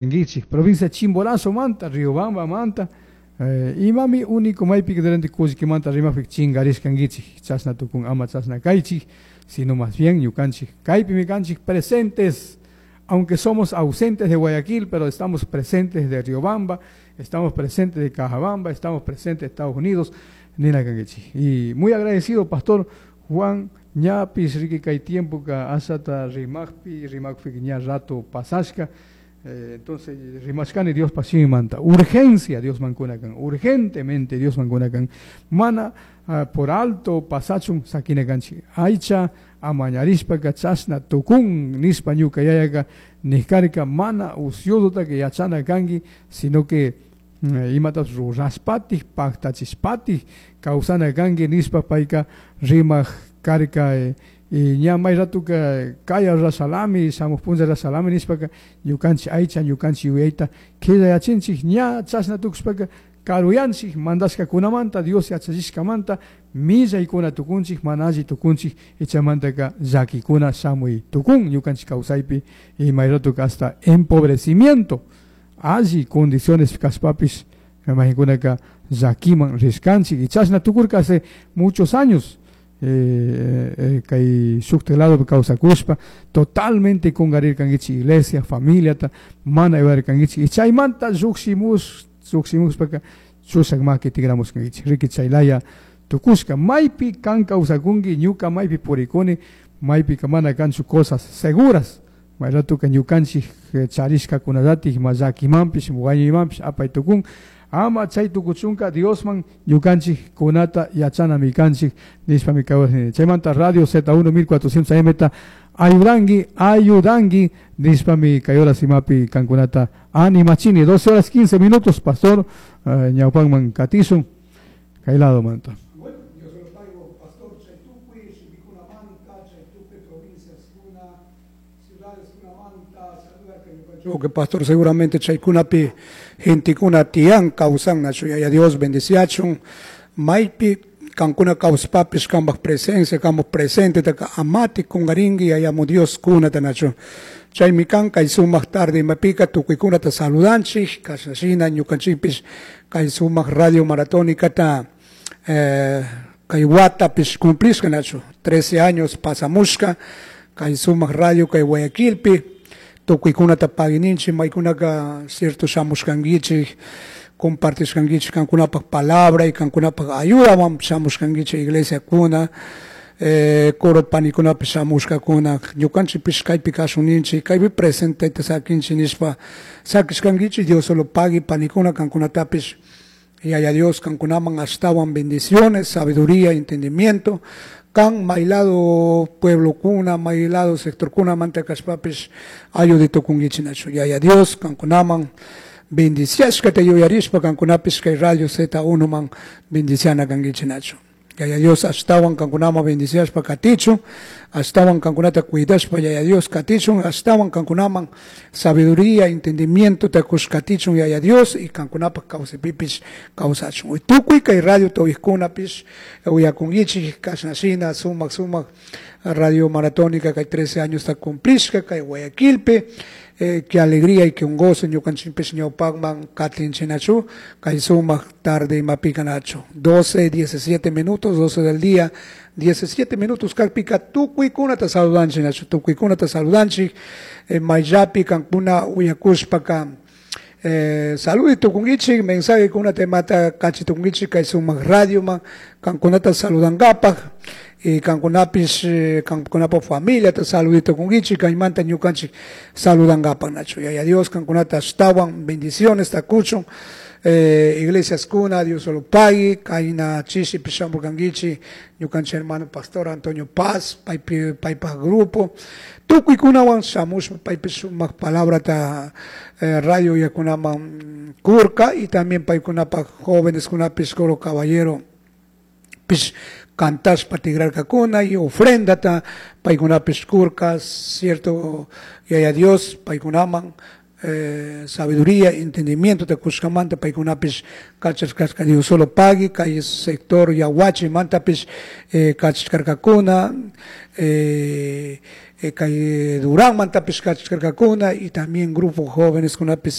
Kanguichik, provincia Chimborazo manta, Riobamba manta, imami único maypi durante kullkimanta rimapik chingarishkanguichik, chashna tukun ama chashna kaychik, sino más bien ñukanchik kaypimi kanchik presentes, aunque somos ausentes de Guayaquil, pero estamos presentes de Riobamba, estamos presentes de Cajabamba, estamos presentes de Estados Unidos, nina kanguichik. Y muy agradecido, Pastor Juan ñapis, riki kay tiempo ka asata rimaqpi, rimaqpi ña rato pasashka. Entonces, rimashkani Dios manta, urgencia Dios mankunakan, urgentemente Dios mankunakan, mana por alto pasachun sakinakanchik, aycha amañarishpaka chashna tukun nispa ñuka yayaka nijkarka mana uciosotaka yachana kanki, sino que imatapish rurashpatik paktachishpatik kawsana kanki nispa payka rimak karka. Y ña may ratuka kaya rasalami, shamuj punlla rasalami nishpaka ñukanchik aycha, ñukanchik yuyayta quedayachinchik, ña chashna tukushpaka karuyanchik mandashkakunamanta, Dios yachachishkamanta millaykuna tukunchik, mana alli tukunchik, ichamantaka llakikuna shamuy tukun ñukanchik kawsaypi, y may ratuka hasta empobrecimiento, alli condiciones kashpapish maykunaka llakiman rishkanchik, y chashna tukurka hace muchos años. Kay shukta lado kawsakushpa totalmente kungarirkankichik iglesia, familiata mana ayudarkankichik, y chaymanta llukshimushpaka chushak maki tigramushkankichik, riki chaylaya tukushka. Maypi kan kawsakunki, ñuka maypi purikuni, maypika mana kanchu cosas seguras, may ratuka ñukanchik charishkakunallati ima llakimanpish wañuymanpish apay tukun. Ama chay tukuchunka Diosman ñukanchik kunata yachanami kanchik nishpami kawsani. Chaymanta Radio Z1 1400 AM ta ayudangi, ayudangi nishpami kay horas imapi kankunata animachini. 12 horas 15 minutos, pastor, ñawpanman katisun kay lado manta. Bueno, Dios lo pago, pastor, chay tukuy, shimikunamanta, chay tukuy, provincias kuna, ciudades kunamanta, saluda que ñukanchik. Que pastor seguramente chaykunapi gentekuna tiyan kawsan nachu, yaya Dios bendeciachun, maypi kankuna kawsapapis kambaj presencia, kambaj presente taka amati kungarinki yayamo Dios kunata nachu. Chaymi kan kay sumaq tarde imapika tukuykunata saludanchik, kashna ñukanchikpis kay sumaq radio maratónicata, kay watapis cumplishka nachu, 13 años pasamushka kay sumaq radio kay Guayaquilpi. Tukuykunata paguininchik, maykunaka cierto shamushkankichik, compartishkankichik kankunapaj palabra y kankunapaj ayudawan shamushkankichik iglesia kuna, coro panikunapi shamushkakuna, ñukanchikpish kaypi kashunninchik, kaypi presenteta sakinchik nishpa sakishkankichik, Dios solo pagui panikuna kankunatapish, yaya Dios kankunaman ashtawan bendiciones, sabiduría, entendimiento, kan maylado pueblo kuna, maylado sector kuna manta kashpapish ayudito kungichinachu. Yaya Dios kankunaman bendiciashkata yuyarishpa kankunapish kay Radio Z1 man bendiciana kangichinachu. Yaya Dios ashtawan kankunaman bendiciashpa katichun, ashtawan kankunata cuidashpa Yaya Dios katichun, ashtawan kankunaman sabiduría, entendimiento takush katichun Yaya Dios y kankunapaj kawsaypipish kawsachun. Uy, tukuy kay radio tawishkunapish uyakunkichik kashnashina sumak sumak radio maratónica kay 13 años ta cumplishka kay Guayaquilpi. Qué alegría y qué un gozo ñukanchikpish ñawpakman katinchinachu kay sumak tarde imapikanachu. 12, 17 minutos, 12 del día, 17 minutos kakpika tukuykunata saludanchik nachu, tukuykunata saludanchik, mayllapi kankuna uyakushpaka, saludito kunkichik, mensaje kuna temata kachitukunkichik kay sumak radioman kankunata saludankapaj, y kankunapis, kankunapa familia ta saludito kunkichik, kaymanta ñukanchik saludankapaj nachu. Yaya Dios kankunata ashtawan bendiciones takuchun, iglesias kuna, Dios solo pagui, kayna chishi pishamur kankichik, ñukanchik hermano pastor Antonio Paz, paypi, paypa grupo, tukuykunawan shamushpa paypi sumak palabra ta, radio yakunaman kurka, y también paykunapa jóvenes kunapis coro caballero pis cantashpa tigrarkakuna y ofrendata paykunapis kurka, cierto, yaya Dios paykunaman, Sabiduría, entendimiento cushkamanta paykunapish kachashkarka Dios solo pagui kay sector Yaguachi mantapish kachashkarkakuna kay Durán mantapish kachashkarkakuna y también grupo jóvenes kunapish.